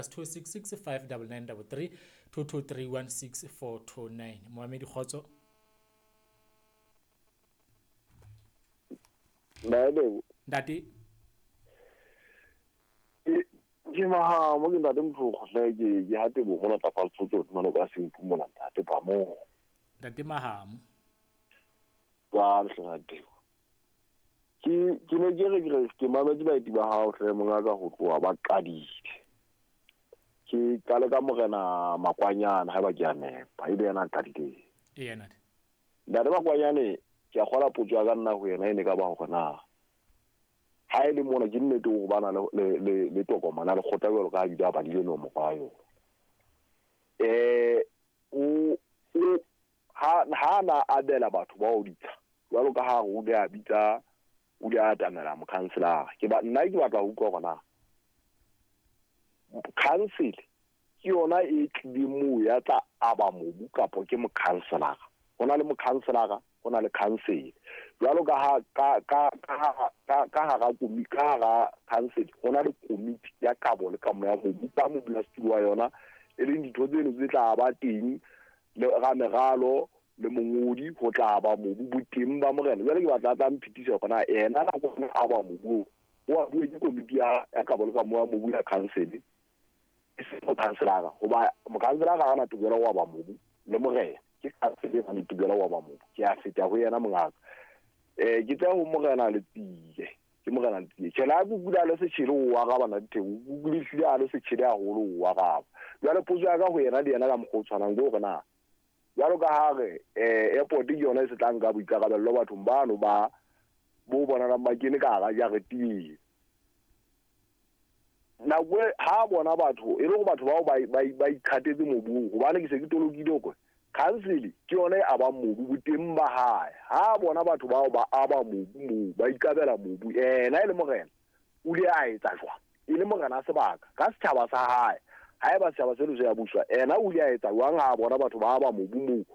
+266 59933 223 16429. Moamedi, kgotso. Ntate. Ke Mahamo, ke ntate Motlogo hle, ke ha Tebogo mona tlapa Lesotho, mona ka Senku mona, ntate ba mo. Ntate Mahamo. Jwale hle ntate. Ke ne ke re ke re ke mametse baeti ba hao hle mongaka ho tloha ba qadile. Ke qale ka morena Makwanyane, haeba ke a nepa, ebe yena a qadileng. Ee, ntate. Ntate Makwanyane, ke a kgola potso ya ka nna ho yena e ne ka ba hore na ha e le mona ke nnete hore ba na le tokomane ya lekgotla jwalo ka ha bile a badile nomoro ya yona. O ha na abela batho bao ditsha jwalo ka ha o le a bitsa, o le atamela mokhanselara. Ke ba nna ke batla ho utlwa hore na council ke yona e tlileng moo ya tla aba mobu kapa ke mokhanselara. Ho na le mokhanselara, ho na le council. Jwalo ka ha ka hara ka hara council ho na le komiti ya kabo le kamo ya mobu ka modulasetulo wa yona, e leng ditho tseno tse tla ba teng le rameralo le mongodi ho tla ba mobu boteng ba morena. Jwale ke batla tla mphetisa hore na yena nako e aba mobu o a bue ke komiti ya kabo le kamo ya mobu ya council, e seng mokhanselara, hoba mokhanselara ha ana tokelo ya ho aba mobu le morena. Ke council e nang le tokelo ya ho aba mobu. Ke a feta ho yena mongaka. Ke tla ho morena Letsie, ke morena Letsie. Tjhe, la kukula le setjhele o araba na Ditheko, o kukule hlile a le setjhele haholo o araba. Jwale potso ya ka ho yena le yena ka mokgwa o tshwanang ke hore na jwalo ka ha re airport ke yona e se tla nka boikarabello bathong bano ba bo bonalang ba kene ka hara jarete eo. Nako e ha bona batho e le hore batho bao ba ikgatetse mobung, hobane ke se ke tolokile hore council ke yona e abang mobu boteng ba hae. Ha bona batho bao ba aba mobu moo, ba ikabela mobu, yena e le morena o ile a etsa jwang? E le morena sebaka ka setjhaba sa hae. Haeba setjhaba seno se ya buswa, yena o ile a etsa jwang ha bona batho ba aba mobu moo?